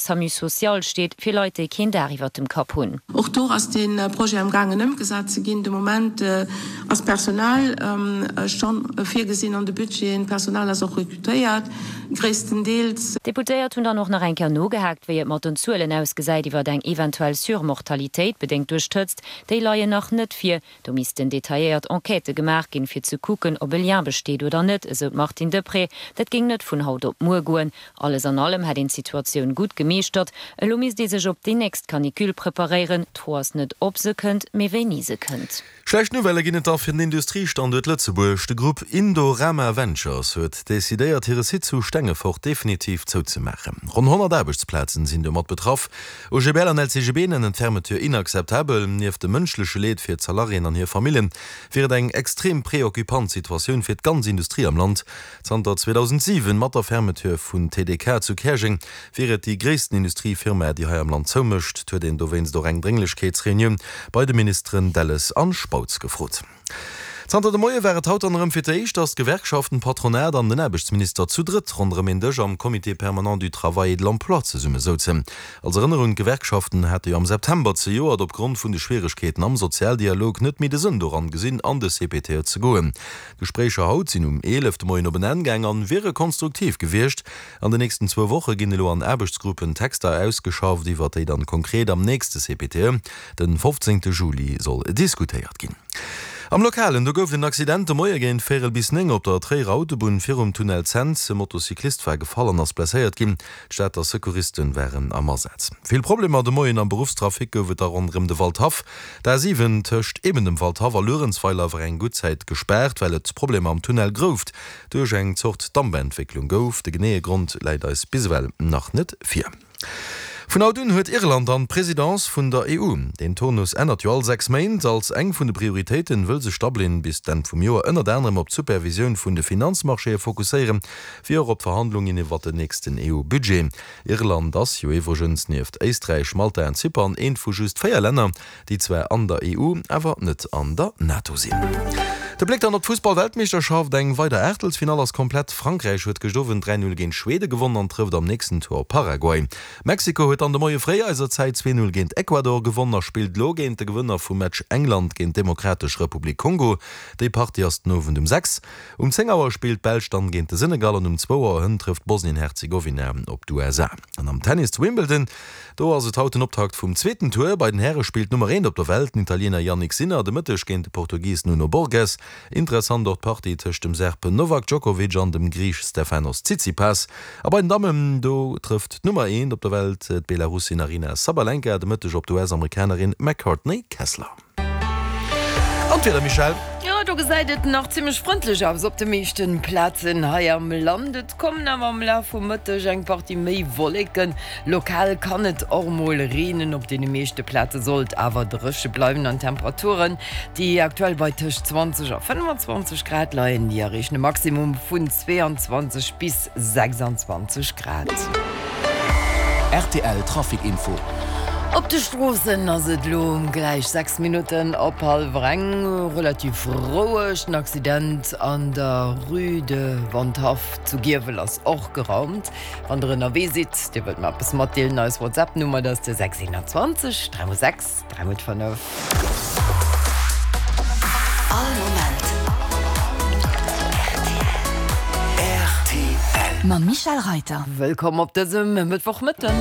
Samu Social steet fir Leit, déi keen Daach iwwert dem Kapp hunn. Och do ass dee Projet am gaangen ëmgesat ze ginn. De Moment ass Personal scho virgesinn an de Budgeten. D'Personal ass och rekrutéiert, gréisstendeels. D'Deputéiert hunn dann och nach eng Kéier nogehaakt, wéi et mat den Zuelen ausgesäit iwwert eng eventuell Surmortalitéit, bedéngt duerch d'Hëtzt. Déi leien nach net vir. Do missten detailléiert Enquêtë gemaach ginn, fir ze kucken, ob e Lien besteet oder net, esou d'Martine Deprez. Dat géing net vun haut op muer goen. Alles an allem hätt een d'Situatioun gutt gemeeschtert. Elo misst ee sech op déi nächst Canicule preparéieren. D'Fro ass net, ob se kënnt, mee wéini se kënnt. Schlecht Nouvellë ginn et da fir den Industriestanduert Lëtzebuerg. De Grupp Indorama Ventures huet decidéiert, hire Site zu Stengefort definitiv zouzemaachen. Ronn 100 Aarbechtsplazen sinn domat betraff. OGBL an LCGB nennen d'Fermeture inakzeptabel. Nieft dem mënschleche Leed fir d'Salariéen an hir Famillen, wier et eng extrem preoccupant Situatioun fir d'ganz Industrie am Land. Zanter 2007, mat der Fermeture vun TDK zu Käerjeng, wier et déi gréissten Industriefirma, déi hei am Land zoumécht. Et huet een dowéinst och eng Drénglechkeetsreunioun bei de Ministeren Delles an Spautz gefrot. Zanter de Moie war et haut dann erëm fir d'éischt, datt d'Gewerkschaften, d'Patronat an den Aarbechtsminister zu drëtt ronderëm een Dësch am Comité permanent du travail et de l'emploi zesumme souzen. Als Erënnerung, D'Gewerkschaften hate jo am September zejoert opgrond vun de Schwieregkeeten am Sozialdialog net méi de Sënn doran gesinn, an de CPTE ze goen. D'Gespréicher haut sinn um 11 de Moien op en Enn gaang an wiere konstruktiv gewiescht. An den nächsten zwou Woche ginn elo an Aarbechtsgruppen Texter ausgeschafft, iwwert déi dann konkret am nächste CPTE Den 15 Juli soll diskutéiert ginn. Am Lokalen, do gouf et en Accident de Moie géint véierel bis 9 op der Tréierer Autobunn virum Tunnel Cents. E Motocyclist war gefall an ass blesséiert ginn. D'Stater Secouristen waren am Asaz. Vill Problemer de Moien am Beruffstrafic gouf et da ronderëm de Waldhaff. D'A7 tëscht eben dem Waldhaff a Luerenzweiler war eng gutt Zäit gespaart, well et Problemer am Tunnel Grouft duerch eng Zort Dampentwécklung gouf. De geneeë Grond läit eis bis ewell nach net vir. Vun haut un huet Irland dann d'Presidence vun der EU. Deen Turnus ännert jo all 6 Méint. Als eng vun de Prioritéiten wëll sech Dublin bis d'Enn vum Joer ënnert anerem op d'Supervisioun vun de Finanzmarchéë fokusséieren, wéi och op d'Verhandlungen iwwert den nächsten EU-Budget. Irland ass jo iwwregens nieft Éisträich, Malta an Zypern eent vu just 4 Länner, déi zwar an der EU, awer net an der NATO sinn. De Bléck dann op d'Fussball-Weltmeeschterschaft, Eng weider Aachtelsfinall ass komplett. Frankräich huet gëscht Owend 3, 0 géint Schwede gewonnen an trëfft am nächsten Tour op Paraguay. Mexiko huet dann de Moie fréi eiser Zäit 2, 0 géint Ecuador gewonnen a spillt elo géint de Gewënner vum Match England géint d'Demokratesch Republik Kongo. Déi Partie ass den Owend um 6. Um 10 Auer spillt d'Belsch dann géint de Senegal an um zwou Auer hënt trëfft Bosnien-Herzegowina op d'USA. An am Tennis zu Wimbledon, do ass et haut den Optakt vum zweeten Tour. Bei den Häre spillt d'Nummer eent op der Welt, den Italiener Jannik Sinner, de Mëtteg géint de Portugis Nuno Borges. Interessant och d'Partie tëscht dem Serb Novak Djokovic an dem Griich Stefanos Tsitsipas. A bei den Dammen, do trëfft d'Nummer eent op der Welt, d'Belarussin Aryna Sabalenka, de Mëtteg op d'US-Amerikanerin McCartney Kessler. An d'Wieder, Michèle? Jo, do gesäit et nach zimmlech frëndlech aus op de meeschten Plazen hei am Land. Et kommen awer am Laf vum Mëtteg eng Partie méi Wolleken. Lokal kann et och mol reenen, op deene meeschte Plaze soll et awer dréche bleiwen an d'Temperaturen, déi aktuell bei tëscht 20 a 25 Grad leien, déi erreechen e Maximum vun 22 bis 26 Grad. Rtl Trafic Info. Op de Stroossen ass et elo gläich 6 Minutten op hallwer eng. Relativ roueg. Den Accident an der Rue de Wandhaff zu Giewel ass och geraumt. Wann der ënnerwee sidd, dir wëllt mer eppes matdeelen, eis WhatsApp-Nummer, dat ass de 621 3 x 6. 3 mol 5. All Moment rtl. Mam Michèle Reiter. Wëllkomm op dësem Mëttwochmëtten.